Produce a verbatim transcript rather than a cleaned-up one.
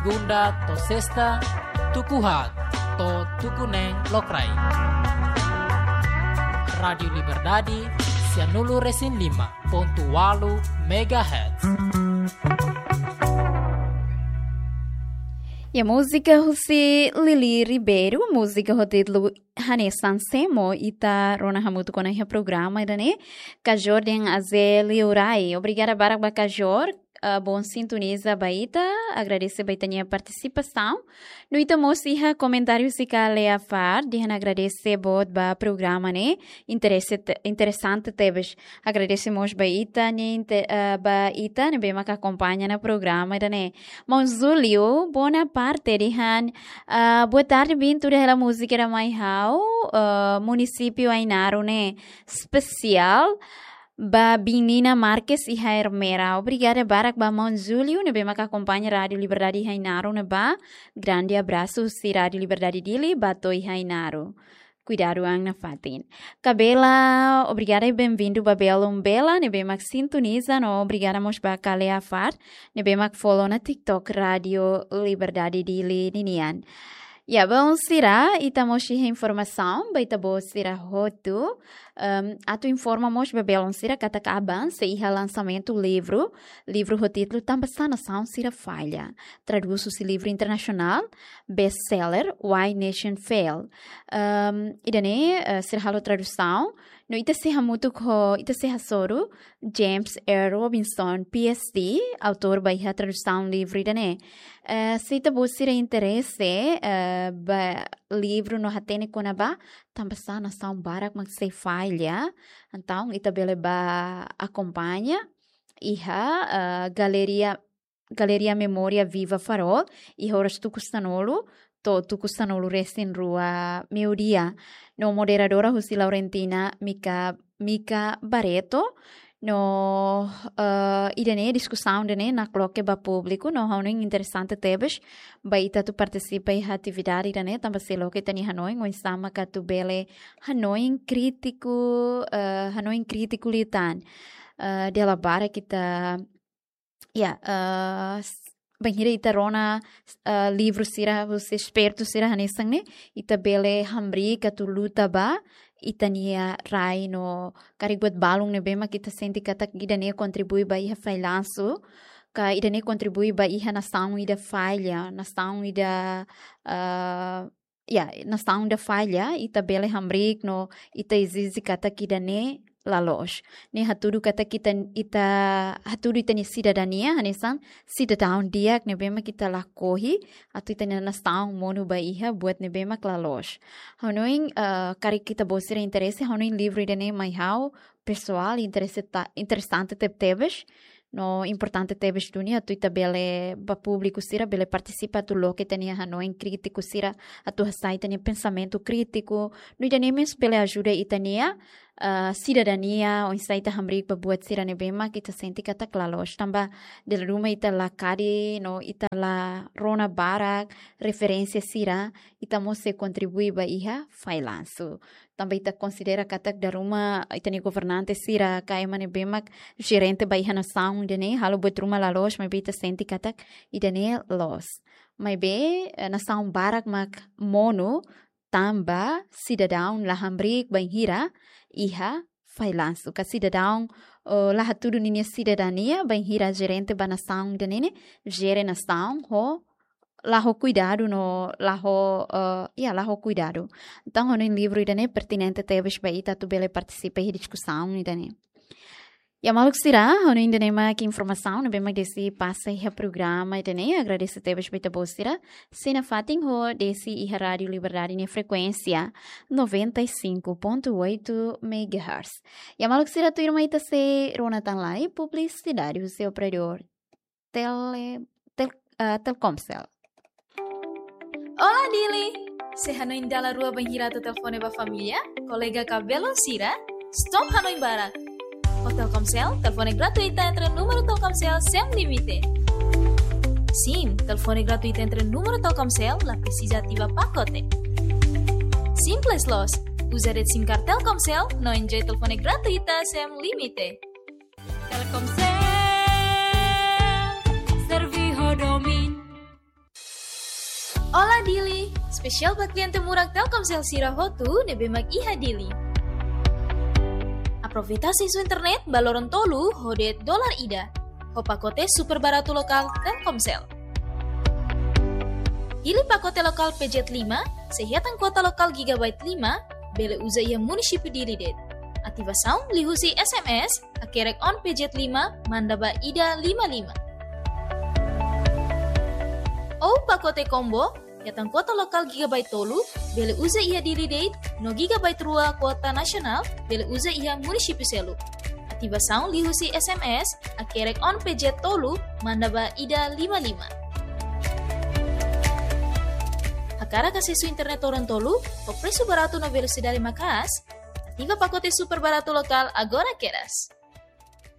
Segunda to'o sesta, tuku haat to'o tuku neen lokraik. Rádiu Liberdade, sianulu-resin-lima pontu ualu megahertz. Ya, múzika husi Lili Ribeiro, múzika ho títulu Hanesan Semo, ita rona hamutuk ona iha programa ida-ne'e, Kajor dehan Aze Liurai. Obrigada barak ba Kajor, ah, bom sintoniza ba ita, agradese ba ita-nia partisipasaun. No ita mós iha komentáriu husi Kalea Far, dehan agradese boot ba programa ne'e, interese te-, interesante tebes. Agradese mós ba ita, ne'e inte-, ah, ba ita, ne'ebé maka akompaña ona programa ida-ne'e. Maun Júlio Bonaparte dehan, ah, boa tarde, bin tuda hela múzika ida mai ha'u, ah, munisípiu Ainaro ne'e espesiál ba bin Nina Marques iha Ermera. Obrigada barak ba maun Júlio, ne'ebé maka akompaña Rádiu Liberdade iha Ainaro ne'ebá. Grande abrasu husi Rádiu Liberdade Dili, ba to'o iha Ainaro. Kuidadu an nafatin. Kabela, obrigada i benvindu ba belun bela, ne'ebé mak sintoniza, no obrigada mós ba Kalea Far, ne'ebé mak follow ona TikTok Rádiu Liberdade Dili ninian. Ya, belun sira, ita mós iha informasaun ba ita-boot sira hotu, em, atu informa mós ba belun sira katak aban sei iha lansamentu livru, livru ho títulu Tanbasá Nasaun Sira Falla. Tradús husi livru internasionál, best-seller, Why Nations Fail. Em, ida-ne'e, eh, sira halo tradusaun, no ita sei hamutuk ho, ita sei hasoru James R. Robinson, P H D, autór ba iha tradusaun livru ida-ne'e. Eh, se ita-boot sira interese, eh, ba livru no hatene kona-ba tanbasá nasaun barak mak sei falla, entaun ita bele bá akompaña iha, eh, Galeria Galeria Memória Viva Farol, iha oras tuku sanulu to'o tuku sanulu-resin-rua meiudia. No moderadora husi Laurentina Mica, Mica Barreto. No, eh, ida-ne'e diskusaun ida-ne'e nakloke ba públiku, no ha'u hanoin interesante tebes ba ita atu partisipa iha atividade ida-ne'e, tanba sei loke ita-nia hanoin, oinsá maka atu bele hanoin krítiku, eh, hanoin krítiku liután. Eh, dala barak ita ya, eh, s-, bainhira ita rona, eh, livru sira husi espertu sira hanesan ne'e, ita bele hamriik atu luta ba ita-nia rai no karik buat balun ne'ebé mak ita sente katak ida-ne'e kontribui ba iha fallansu, ka ida-ne'e kontribui ba iha nasaun ida falla, nasaun ida, eh, ya, nasaun ida falla, ita bele hamriik no ita ezije katak ida-ne'e la loos. Ne'e hatudu katak ita, ita hatudu ita-nia sidadania, hanesan sidadaun di'ak ne'ebé mak ita lakohi, atu ita-nia nasaun monu ba iha buat ne'ebé mak la loos. Ha'u hanoin, eh, karik ita-boot sira interese, ha'u hanoin livru ida-ne'e mai ha'u, pesoál, interese ta-, interesante tebetebes, no importante tebes duni atu ita bele ba públiku sira bele partisipa atu loke ita-nia hanoin krítiku sira, atu hasai ita-nia pensamentu krítiku, no ida-ne'e mós bele ajuda ita-nia, ah, sidadania, oinsá ita hamriik ba buat sira ne'ebé mak ita sente katak la loos. Tanba dala ruma ita la kadi, no ita la rona barak referénsia sira, ita mós sei kontribui ba iha fallansu. Tanba ita konsidera katak dala ruma ita-nia governante sira ka ema ne'ebé mak jerente ba iha nasaun ida-ne'e halo buat ruma la loos, maibé ita sente katak ida-ne'e loos. Maibé, eh, nasaun barak mak monu tanba sidadaun la hamriik bainhira iha fallansu. Ka sidadaun, eh, la hatudu ninia sidadania bainhira jerente ba nasaun ida-ne'e ne'e, jere nasaun ho la ho kuidadu no la ho, eh, ya, la ho kuidadu. Entaun, ha'u hanoin livru ida-ne'e pertinente tebes ba ita atu bele partisipa iha diskusaun ida-ne'e. Ya, maluk sira, ha'u hanoin ida-ne'e mak informasaun ne'ebé mak Desi pasa iha programa ida-ne'e. Agradese tebes ba ita-boot sira sei nafatin ho Desi iha Rádiu Liberdade nia frekuénsia noventa e cinco ponto oito megahertz. Ya, maluk sira, tuirmai ita sei rona tan lai publisidade husi operadór Tele-, Tel-, ah, Telkomcel. Olá, Dili! Sei hanoin dala rua bainhira atu telefone ba família, kolega ka belun sira? Stop hanoin barak! Ho Telkomcel, telefone gratuita entre númeru Telkomcel sem limite. Sin, telefone gratuita entre númeru Telkomcel la presiza ativa pakote. Simples loos, uza de'it SIM card Telkomcel no enjoy telefone gratuita sem limite. Telkomcel, serve ho domin. Espesiál ba kliente murak Telkomsel sira hotu ne'ebé mak iha Dili. Aproveita asesu internet ba loron tolu ho de'it dolar ida, ho pakote super baratu lokál Telkomsel. Hili pakote lokál P Z lima, sei hetan kuota lokál gigabyte lima, bele uza iha munisípiu Dili de'it. Ativasaun liuhusi S M S, hakerek on P Z lima, manda ba ida lima lima. Ou pakote combo, hetan kuota lokál gigabyte tolu, bele uza iha Dili de'it, no gigabyte rua kuota nasionál, bele uza iha munisípiu seluk. Ativasaun liuhusi S M S, hakerek on P Z tolu, manda ba ida lima lima. Hakarak asesu internet loron tolu, ho presu baratu no velosidade maka'as, ativa pakote super baratu lokál agora kedas.